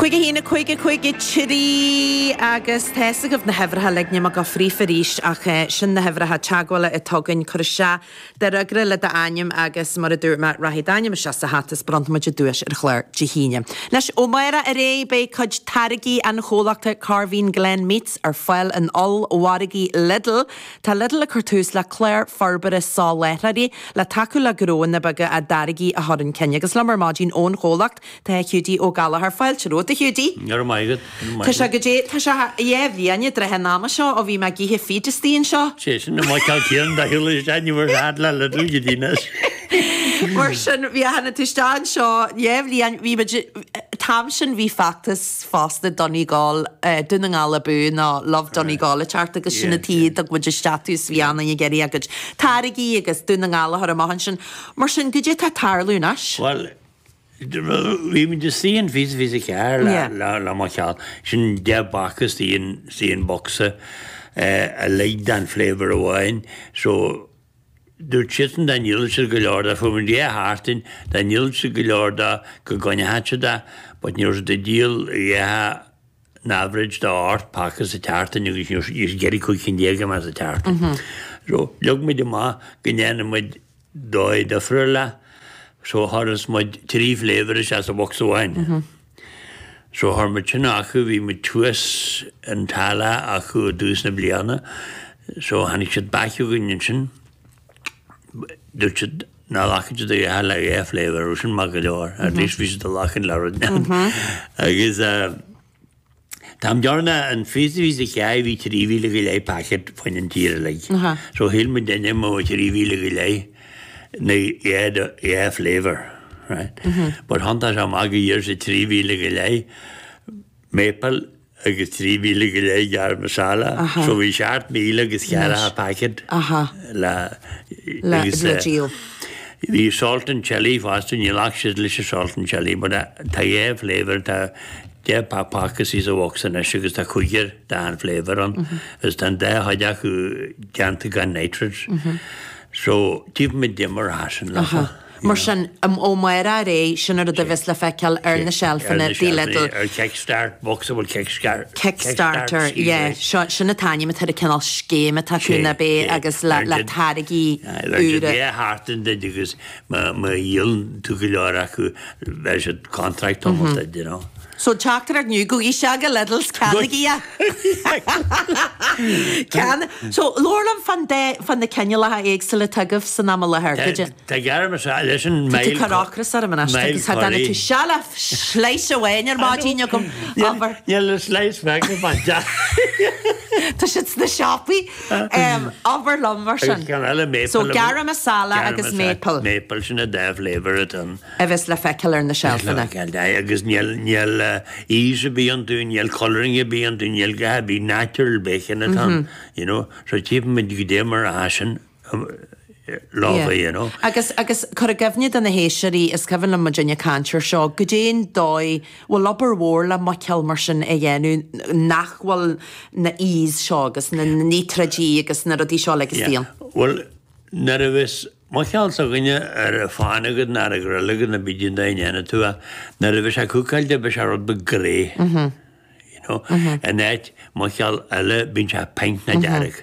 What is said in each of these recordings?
5 1 5 5 3 agus tá fhios agaibh na huimhreacha uilig, níl mé ag gabháil fríofa arís ach sin na huimhreacha teagmhála atá againn, cuir isteach do fhreagra le d'ainm agus mar a dúirt mé rachaidh d'ainm isteach sa hata is bronnfaidh muid an duais ar an chlár Dé hAoine. Anois ó amárach ar aghaidh beidh cuid táirgí an chomhlachta Corveen Glen Meats ar fáil in ollmhargaí Lidl. Tá Lidl ag cur tús le clár forbartha soláthróirí le tacú le gnóanna beaga a dtáirgí a chur chun cinn agus liom ar maidin ón chomhlacht Tá Hiúdaí Ó Gallchóir. Fáilte romhat, a Hiúdaí. Go raibh maith agat. Go raibh maith Tá sé agat. go dé, tá sé dheich bhliain i dtrátha an ama seo ó bhí mé ag ithe feed istigh anseo. Sé sin an muiceál céanna do shiúl isteach ní bhfuair fad le Lidl go dtí anois. Mar sin, bhí a tháinig tú isteach anseo dheich bhliain, bhí muid, t-am sin bhí feachtas fosta Donegal, Dún na nGall abú nó Love Donegal ag teacht agus sin an tuige a dtug muid isteach tú is bhí an-daoine ag iarraidh a gcuid táirgí agus Dún na nGall a chur amach ansin. Mar sin, goidé tá ag tarlú anois? Bhuel, Bhí muid istigh in fiche 24 le mo cheal. Sin 10 bpaca istigh in bocsa uilig den flavour amháin. So dúirt siadsan dá ndíolfadh siad go leor de, fuair muid 2 sheachtain, dá ndíolfadh siad go leor de go gcoinneodh siad é, but ní raibh siad ag díol a dhath an average de 8 paca sa tseachtain agus ní raibh siad ag iarraidh 15 cinn amach sa tseachtain. So leag muid amach go ndéanfaidh muid dóigh difriúil leis. So chuir muid 3 flavour isteach sa bhocsa amháin. So chuir muid sin acu, bhí muid thuas in Tallaght acu i dtús na bliana. So tháinig siad back chugainn ansin. Dúirt siad nach nglacfadh siad a dhath le dhá flavour, raibh sin maith go leor, at least bhí siad ag glacaint le rud. Agus Táim dearna an fiche 24 bhí 3,000 go leith packet fán an tír uilig. So shíl muid duine mo 3,000 go leith na dhá flavour, right? But thiontaigh sé amach go d'iarr siad 3,000 go leith maple agus 3,000 go leith garam masala. So bhí 7,000 agus ceathracha packet le agus le díol. Bhí salt and chilli fosta, ní ghlac siad leis an salt and chilli but tá dhá flavour, tá 10 paca istigh sa bhocsa anois agus tá cúigear d'achan flavour ann agus tá an dá chuid acu déanta gan nitrates. So, tífimid goidé mar atá sin leofa. Mar sin, ó amárach ar aghaidh, sin an rud a bheas le feiceáil ar na seilfeanna di Lidl. Ar Kickstart, bocsa a bhfuil Kickstart. Kickstarter, yeah. Seo, sin an t-ainm atá ar an cineál scéim atá acu ná b'é agus le le táirgí úra. Bheadh sheachtain duit agus má dhíolann tú go leor acu bheadh siad contract almost dead, you know. So teachtaireacht inniu, gabhaigí isteach go Lidl's, ceannaigí é! Ceann, so labhair liom fán dá, fá na cineálacha éagsúla atá agaibh san am i láthair, goidé. Tá garam masala leis an Tá tú ag cur ocras orm anois, agus tá duine tú seo le slice amháin ar maidin agam, abair. Níl a slice feicthe bainte. Tá siad sna siopaí. Abair liom mar sin. Agus ceann eile maple. So garam masala agus maple. Maple, sin an dá flavour atá ann. A bheas le feiceáil ar na seilfeanna. Agus níl, níl E's ar bith iontu, níl colouring ar bith iontu, níl a dhath ar bith, natural bacon atá ann, you know. So tífimid goidé mar atá sin leofa, you know. Agus, agus cur i gcuimhne do na héisteoirí, is cuimhin liom muidinne ag caint ar seo, goidé an dóigh, bhfuil obair mhór le muiceoil mar sin a dhéanamh nach bhfuil na E's seo agus na níotráidí agus na rudaí seo uilig istigh ann? Bhuel, nuair a bheas muiceoil s'againne ar an phan agat nó ar an ghrill agat nó pé cén dóigh a ndéanann tú é, nuair a bheas sé cúcáilte beidh sé rud beag grey. You know, in áit muiceoil eile bíonn sé pink nó dearg.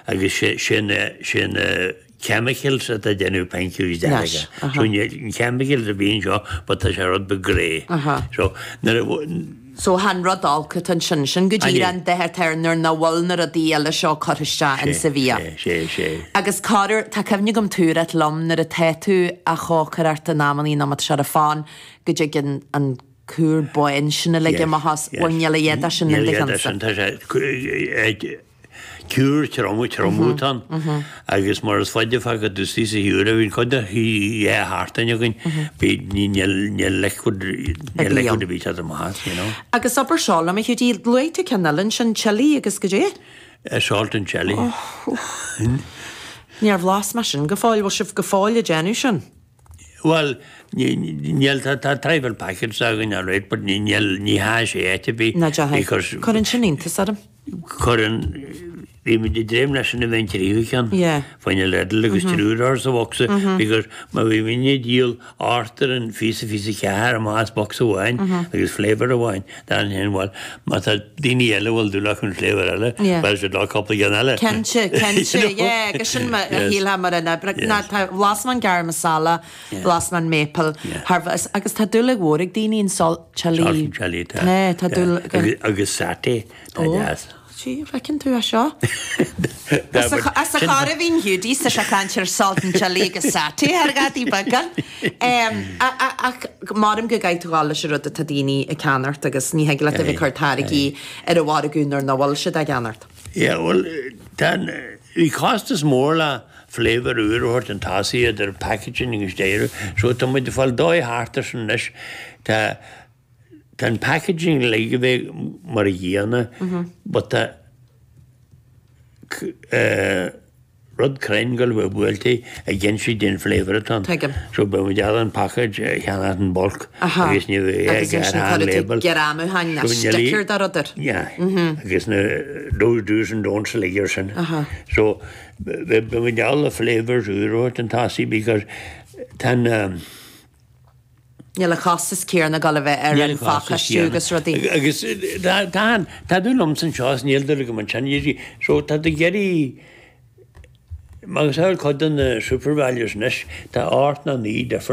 Agus sé na, sé na chemicals atá ag déanamh pink agus dearg. So níl chemicals ar bith anseo but tá sé rud beag grey. So nuair a. So chan rud olc atá ansin, sin go díreach an dath atá air nuair nach bhfuil na rudaí eile seo curtha isteach insa bhia. Sé, sé, sé. Agus corruair, tá cuimhne agam tú a ráit liom nuair atá tú á chócaireacht in amannaí nó má tá sé ar an phan go dtig an, an cúr bán sin uilig amach as, bhuel níl a dhath de sin in do Níl a dhath de cheannsa. sin, tá sé, Cúr trom, triomú atá ann agus mar is faide fágtha tú istigh sa shiúr a bhíonn cuid de dhá sheachtain againn, bhí, níl, níl liquid, níl liquid ar bith ag teacht amach as, you know. Agus abair seo liom, a Hiúdaí, luaigh tú ceann eile ansin, chilli agus goidé? Salt and chilli. Níor bhlas mé sin go fóill, bhfuil sibh go fóill ag déanamh sin? Bhuel, níl, tá, tá trifle packets againn alright, but níl, ní hea sé áit ar bith Ná deachaigh. because Cuireann sin iontas orm. cuireann. Bhí muid ag dréim leis sin a bheith an tríú ceann fá choinne Lidl agus triúr a chur sa bhocsa because má bhí muidne ag díol ochtar an phíosa phíosa ceathair amach as bocsa amháin agus flavour amháin dan sin bhuel má tá daoine eile a bhfuil dúil acu an flavour eile bhuel siad leo cúpla ceann eile. Cinnte, cinnte, yeah agus sin a shílfeá mar an oibre. Ná tá bhlas mé an garam masala, bhlas mé an maple thar bheith agus tá dúil mhór ag daoine an salt chilli. Salt and chilli tá. Tá dúil agus satay tá deas. Sea, feiceann tú é seo. As a chor a bhíonn Hiúdaí sa sé caint ar salt and chilli agus satay thar ghadaí beaga. Ach maram go gcaithfidh tú dhul leis an rud atá daoine ag ceannacht agus ní thig leat a bheith ag cur táirgí ar an mhargadh nuair nach bhfuil siad á gceannacht. Yeah, bhuel, tá an, bhí costas mór le flavour úr a thabhairt chun tosaigh idir packaging agus deireadh, so tá muid ag fáil dóigh thart ar sin anois. Tá, Tá an packaging uilig a bheith mar a gcéanna but tá rud cruinn ag gabháil a bheith buailte ag inse dén flavour atá ann. Tuigim. So beidh muid ábalta an package a cheannacht in bulk agus ní bheidh Agus ansin cuirfidh tú greamúcháin ná sticker dá rud air. Yeah. Agus na those do's and don'ts uilig ar sin. So beidh muid ábalta flavours úr a thabhairt chun tosaigh because tá an Níl an costas céanna ag dul a bheith ar an phacáistiú agus rudaí. Agus tá an, tá dúil liomsa anseo is níl dúil agam ansin, you see. So tá tú ag iarraidh, agus ar cuid de na SuperValus anois, tá ocht nó 9 difear.